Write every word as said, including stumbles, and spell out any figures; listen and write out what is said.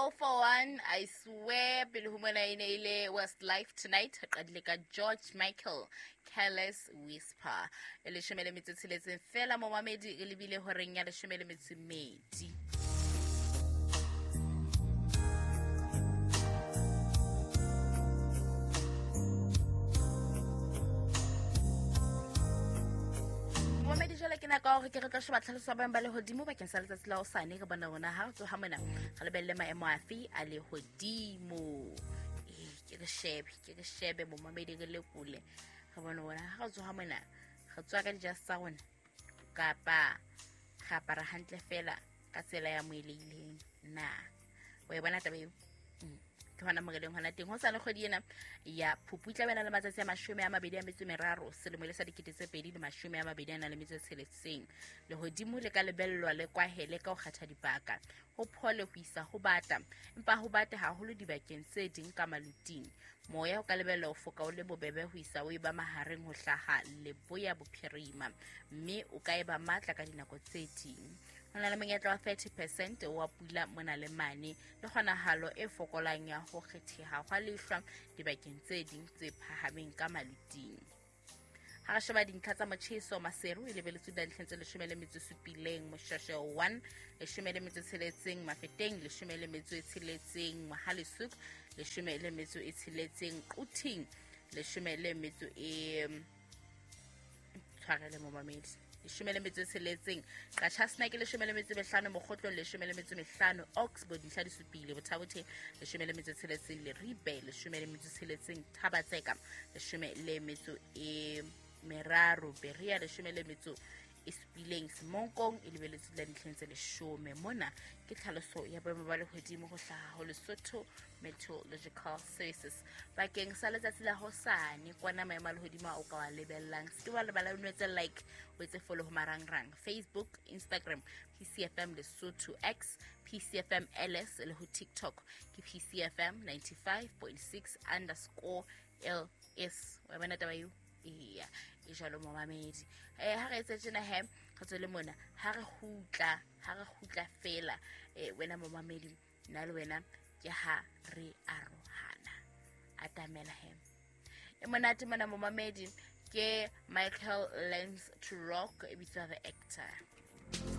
All for One, I swear, pele ho mona e ne e le Westlife Tonight, re qadile ka George Michael, Careless Whisper. E leshome le metso e tsheletseng fela momamedi, re lebile horeng ya leshome le metso e mmedi. Momamedi, jwale ke nako ya hore ke re tlo sheba tlhaloso ya boemo ba lehodimo bakeng sa letsatsi la hosane. Re bona rona ha re tsoha mona re lebelle maemo afe a lehodimo. Ee, ke re shebe, ke re shebe momamedi, re lekole. Re bone rona ha re tsoha mona re tswa ka dijase tsa rona kapa re apara hantle fela ka tsela ya moelehileng na. Wa e bona taba eo? Mm. Ke hona mo re leng hona teng. Hosane kgwedi ena ya Phupu e tla bena le matsatsi a mashome a mabedi a metso e meraro, selemo e le sa dikete tse pedi le mashome a mabedi a nang le metso e tsheletseng. Lehodimo le ka lebellwa le kwahele ka ho kgetha dibaka, ho phole ho isa ho bata, empa ho bate haholo dibakeng tse ding ka maluting. Moya o ka lebellwa ho foka o le bobebe ho isa o eba mahareng ho hlaha leboya bophirima, mme o ka eba matla ka dinako tse ding. Ho na le monyetla wa thirty percent wa pula mona le mane, le kgonahalo e fokolang ya ho kgetheha hwa lehlwa dibakeng tse ding tse phahameng ka maluting. Ha re sheba dintlha tsa motjheso, Maseru e lebeletswe dintlheng tse leshome le metso e supileng, Moshashe one leshome le metso e tsheletseng, Mafeteng leshome le metso e tsheletseng, Mohale'shoek leshome le metso e tsheletseng, Quthing leshome le metso e tshwarele momamedi leshome le metso e tsheletseng, Qacha's Nek leshome le metso e mehlano, Mokgotlong leshome le metso e mehlano, Oxford dintlha di supile, Botha-Bothe leshome le metso e tsheletseng, Leribe leshome le metso e tsheletseng, Thaba-Tseka leshome le metso e meraro, Berea leshome le metso e supileng, Semonkong e lebeletswe la dintlheng tse leshome. Mona ke tlhaloso ya boemo ba lehodimo ho hlaha ho Lesotho Meteorological Services bakeng sa letsatsi la hosane. Kwana maemo a lehodimo a o ka wa lebellang, se ke wa lebala o nwetse like, o etse follow ho marangrang Facebook, Instagram, P C F M Lesotho, X, P C F M L S le ho TikTok ke P C F M ninety-five point six underscore L S. Wa bona taba eo? Eya, e jwalo momamedi. Eh, ha re etse tjena he, re tswele mona, ha re kgutla, ha re kgutla fela, eh, wena momamedi, nna le wena ke ha re arohana. Atamela he. E monate mona momamedi ke Michael Learns to Rock, e bitswa The Actor.